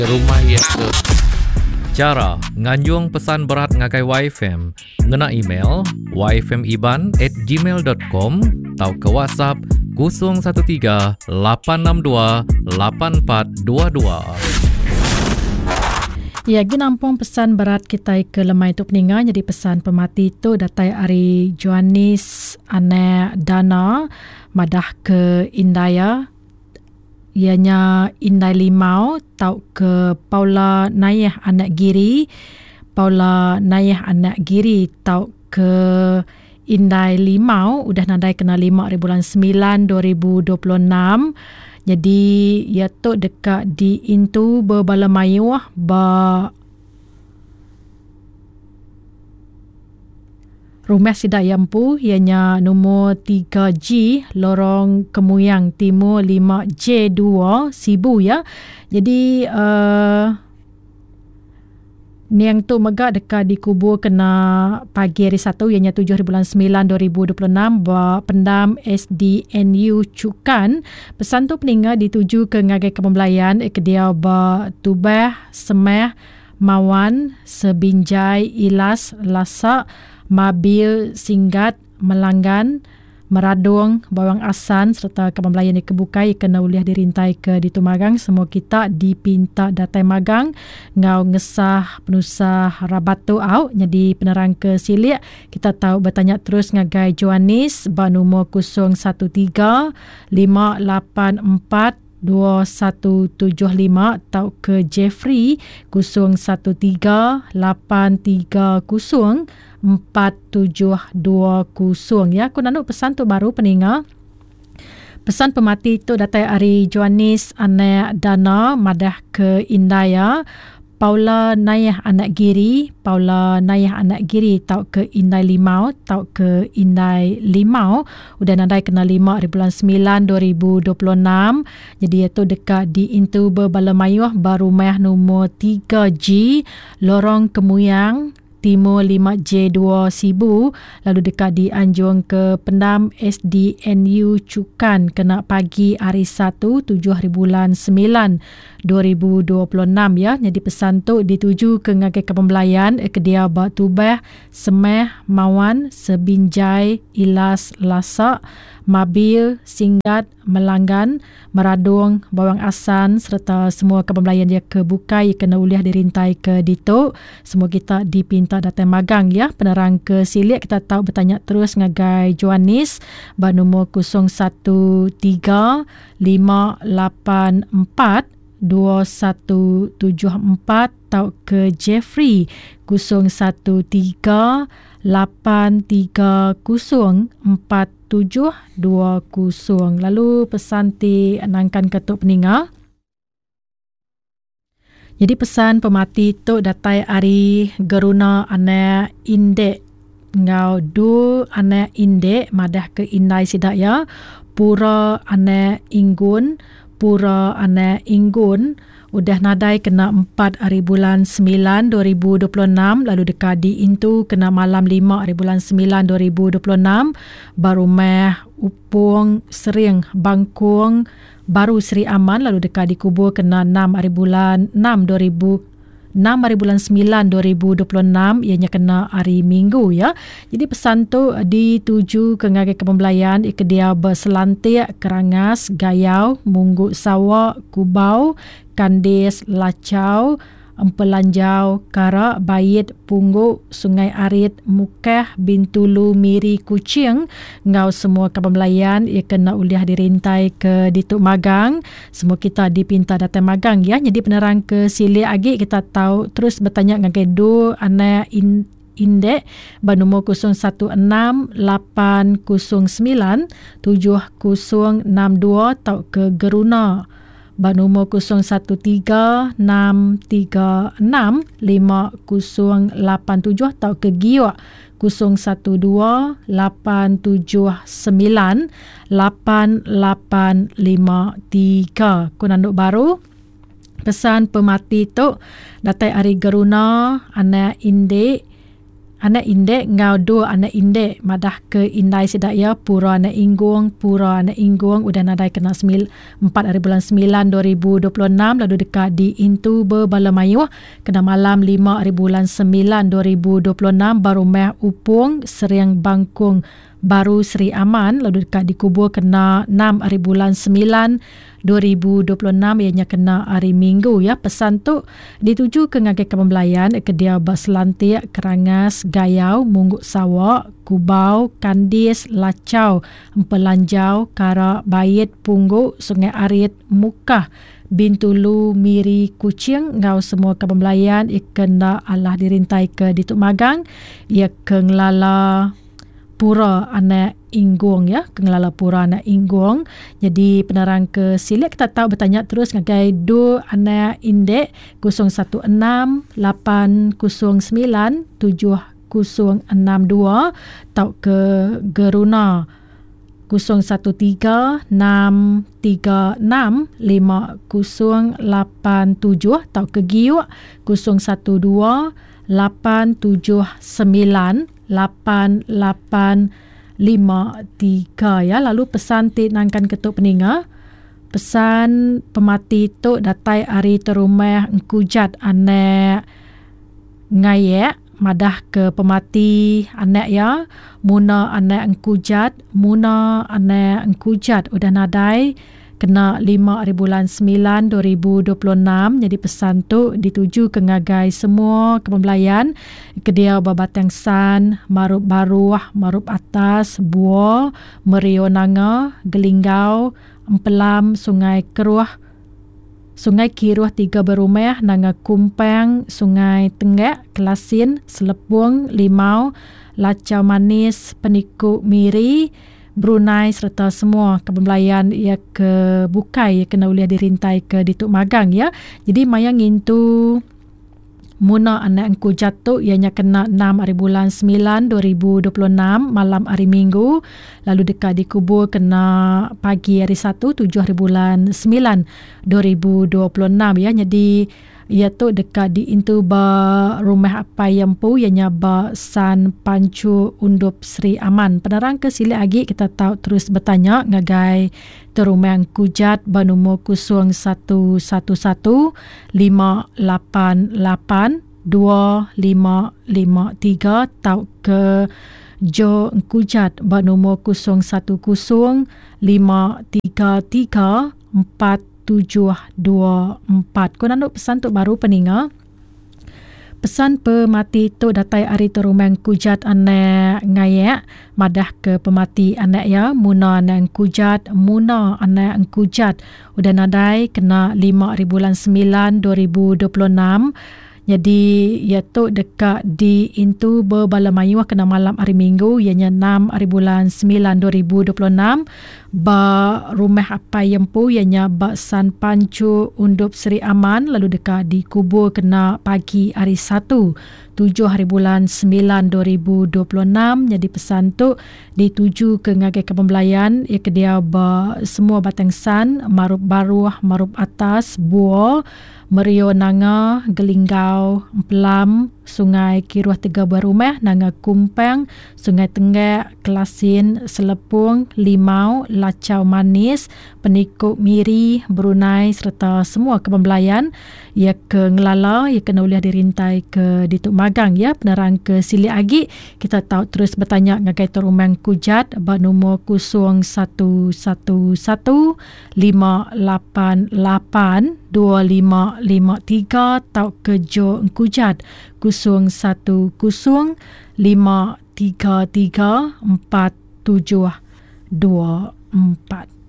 Rumah iya ke. Chara nganjung pesan berat ngagai YFM ngena email yfmiban at gmail dot com tauka WhatsApp 013 862 8422. Iya agi nampung pesan berat kitai ke lemai tu peninga nyadi pesan pemati tu datai ari Joanis anak Dana madah ke indai iya iya nya Indai Limau tauka Paula Nayeh anak Giri, Paula Nayeh anak Giri tauka Indai Limau udah nadai kena lima ari bulan semilan 2026. Nyadi iya tu deka diintu bebala mayuh ba Rumah sida iya empu iya nya numur 3G Lorong Kemuyang Timur 5J2 Sibu ya. Jadi uh, Niang tu mega deka dikubur kena pagi hari Satu iya nya 7 bulan 9 2026 ba pendam SDNU Chukan. Pesan tu peninga dituju ke ngagai Kaban Belayan ke diau ba Tubah, Semah, Mawan, Sebinjai, Ilas, Lasak, Mabil, Singgat, Melanggan, Meradong, Bawang Assan sereta kaban belayan iya ke bukai kena ulih dirintai ke ditu magang semua kita dipinta datai magang enggau ngesah penusah rabat tu au nyadi penerang ke silik kita tau betanya terus ngagai Joanis ba numur 013 584 2175 tauka Jeffrey 013 830 4720 ya aku nanu pesan tu baru peninga pesan pemati tu datai ari Joanis anak Dana madah ke indai ya Paula Nayah anak Giri, Paula Nayah anak Giri tauka Indai Limau tauka Indai Limau udah nadai kena lima ari bulan semilan 2026. Nyadi iya tu deka diintu bebala mayuh ba rumah numur 3G Lorong Kemuyang, Timur 5J2 Sibu lalu deka dianjung ke Pendam SDNU Chukan kena pagi hari Satu tujuh hari bulan semilan 2026 ya. Nyadi pesan tu dituju ke ngagai kaban belayan ke diau ba Tubah, Semah, Mawan, Sebinjai, Ilas, Lasak, Mabil, Singgat, Melanggan, Meradong, Bawang Assan sereta semua kaban belayan iya ke bukai kena ulih dirintai ke ditu. Semua kita dipinta datai magang ya. Penerang ke silik kita tau betanya terus ngagai Joanis ba numur 013 584 2174 tauka Jeffrey 013 830 4720. Lalu pesan ti nangkan ke tu peninga. Jadi pesan pemati tu datai ari Geruna anak Indek enggau Du anak Indek madah ke indai sida iya Pura anak Inggun Pura anak Inggun udah nadai kena empat ari bulan semilan 2026 lalu deka diintu kena malam lima ari bulan semilan 2026 ba rumah Upong Sering Bangkung Baru Sri Aman lalu deka dikubur kena enam ari bulan enam 2000 enam ari bulan semilan 2026 iya nya kena hari Minggu ya. Jadi pesan tu dituju ke ngagai ke pembelayan ke dia berselantik, Kerangas, Gayau, Munggu Sawa, Kubau, Kandis, Lachau, Empelanjau, Kara, Bait, Punggu, Sungai Arit, Mukah, Bintulu, Miri, Kuching enggau semua kaban belayan iya ke enda ulih dirintai ke ditu magang. Semua kita dipinta datai magang ya. Nyadi penerang ke silik agi kita tau terus betanya ngagai du anak in Indek ba numur 016 809 7062 tauka Geruna ba numur 013 636 5087 tauka Giok 012 879 8853. Ku nandu baru, pesan pemati tu datai ari Geruna anak Indik. Anak Indek enggau dua anak Indek madah ke indai sida iya Pura Anak Inggung Pura Anak Inggung udah nadai kena empat hari bulan semilan 2026 lalu deka diintu bebala mayuh kena malam lima hari bulan semilan 2026 ba Rumah Upong Sering Bangkung Baru Sri Aman lalu deka dikubur kena enam hari bulan semilan 2026 iya nya kena hari Minggu ya. Pesan tu ditujuka ngagai kaban belayan ke diau ba Selantik, Kerangas, Gayau, Munggu Sawa, Kubau, Kandis, Lachau, Empelanjau, Kara, Bait, Punggu, Sungai Arit, Mukah, Bintulu, Miri, Kuching enggau semua kaban belayan iya ke enda alah dirintaika ditu magang iya ke ngelala Pura anak Inggung ya, ke ngelala Pura anak Inggung. Jadi penerang ke silik kita tau betanya terus ngagai Du anak Indek 016 809 7062 tauka Geruna 013 636 5087 tauka Giuk 012 879 8853 ya. Lalu pesan ti nangkan ke tu peninga, pesan pemati tu datai ari terumah Engkujat anak Ngayek madah ke pemati anak iya Muna anak Engkujat, Muna anak Engkujat udah nadai kena lima ari bulan semilan 2026. Nyadi pesan tu dituju ke ngagai semua kaban belayan ke diau ba Batang San, Marup Baruh, Marup Atas, Buo, Merio Nanga, Gelinggau, Empelam, Sungai Keruh, Sungai Kiruh Tiga Berumah, Nanga Kumpang, Sungai Tenggak, Kelasin, Selepong, Limau, Lachau Manis, Peniku Miri, Brunei sereta semua kaban belayan iya ke bukai iya kena ulih dirintai ke ditu magang ya. Jadi maya ngintu Muna anak engku jatu iya nya kena enam ari bulan semilan 2026 malam hari Minggu lalu deka dikubur kena pagi hari Satu tujuh ari bulan semilan 2026 ya. Jadi iya tu deka diintu ba rumah apai iya empu iya nya ba San Pancu Undup Sri Aman. Penerang ke silik agi kita tau terus betanya ngagai Terumang Kujat ba numur 0111 588 2553 tauka Jo Engkujat ba numur 010 533 4 724. Ku nandu pesan tu baru peninga. Pesan pemati tu datai ari Terumang Kujat anak Ngayak madah ke pemati anak iya Muna anak Engkujat, Muna anak Engkujat udah nadai kena lima ari bulan semilan 2026. Nyadi iya tu deka diintu bebala mayuh kena malam hari Minggu iya nya enam ari bulan semilan 2026 ba rumah apai iya empu iya nya ba San Pancu Undup Seri Aman lalu deka dikubur kena pagi hari Satu tujuh hari bulan semilan 2026. Nyadi pesan tu ditujuka ngagai kaban belayan iya ke diau ba semua Batang San, Marup Baruh, Marup Atas, Buo, Merio Nanga, Gelinggau, Empelam, Sungai Kiruh Tega Buah Rumah, Nanga Kumpang, Sungai Tenggak, Kelasin, Selepong, Limau, Lachau Manis, Peniku Miri, Brunei sereta semua kaban belayan iya ke ngelala iya kena ulih dirintai ke ditu magang ya. Penerang ke silik agi kita tau terus betanya ngagai Terumang Kujat ba numur 0111 588 2553 tauka Jo Engkujat 010 533 4724.